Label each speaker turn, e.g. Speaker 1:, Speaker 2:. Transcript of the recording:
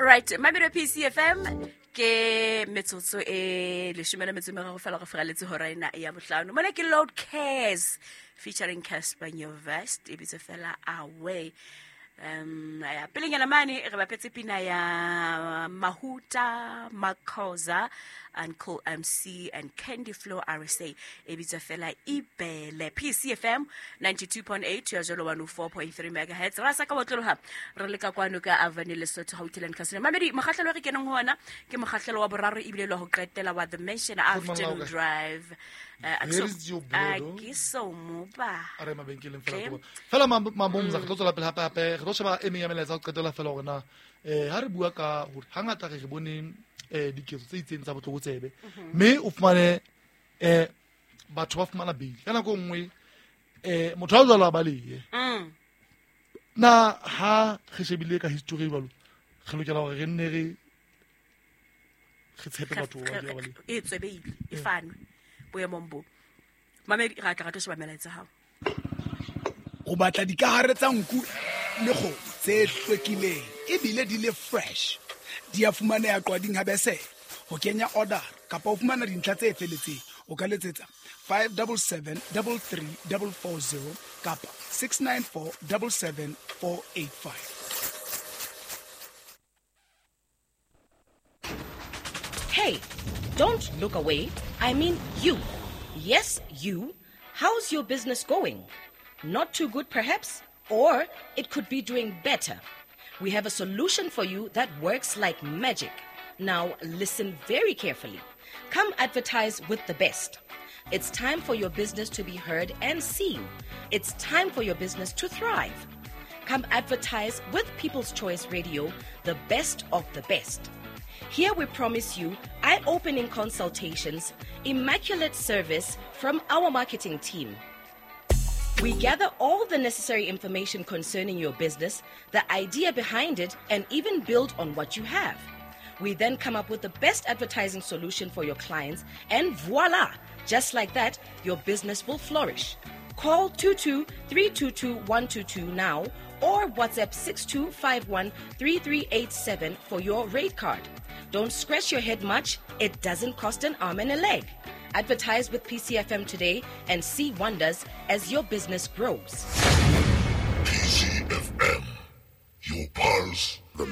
Speaker 1: Right, mamelo PCFM ke metsotso e leshome le metso e meraro fela go feraletse hora ena ya bohlano. Mona ke Load Cares featuring Casper Nyovest, e bitse fela Away. Ya pelenyana mane re bapetse pina ya Mahuta Makhoza, Uncle MC and Candy Flow RSA, e bitswa fela Ibele. PCFM 92.8 ya jalo 104.3 megahertz. Ra sa ka botlologa re le ka kwano ka Avenue Lesotho Gauteng Casino. Mamedi, mokgahlelo re keneng ho ona ke mokgahlelo wa boraro ebile le ho qetela wa The Mansion Afternoon Drive. Ke so moba
Speaker 2: a re mabenkeleng fela ko fela mabomza re tlo tswela pele hape hape re tlo sheba e meng ya melaetsa ho qetela fela hore na ha re bua ka hore hangata re bone diketso tse itseng tsa botlokotsebe, mme o fumane batho ba fumana bail ka nako nngwe, motho a jwalo a balehe. Na ha re shebile ka history jwalo, re lokela hore re nne re tshepe batho ba balehe?
Speaker 1: E tswe bail e fanwe boemong bo. Mamedi, ra tla ra tlo sheba melaetsa hao.
Speaker 3: O batla dikahare tsa nku le kgomo tse hlwekileng ebile di le fresh. Di a fumaneha Qwading ha Besele. Ho kenya order kapa ho fumana dintlha tse feletseng, o ka letsetsa 577 33 440 kapa 694 77 485.
Speaker 4: Hey, don't look away. I mean you. Yes, you. How's your business going? Not too good, perhaps? Or it could be doing better. We have a solution for you that works like magic. Now, listen very carefully. Come advertise with the best. It's time for your business to be heard and seen. It's time for your business to thrive. Come advertise with People's Choice Radio, the best of the best. Here we promise you eye-opening consultations, immaculate service from our marketing team. We gather all the necessary information concerning your business, the idea behind it, and even build on what you have. We then come up with the best advertising solution for your clients, and voila! Just like that, your business will flourish. Call 22-322-122 now or WhatsApp 6251-3387 for your rate card. Don't scratch your head much. It doesn't cost an arm and a leg. Advertise with PCFM today and see wonders as your business grows.
Speaker 5: PCFM, your pulse, the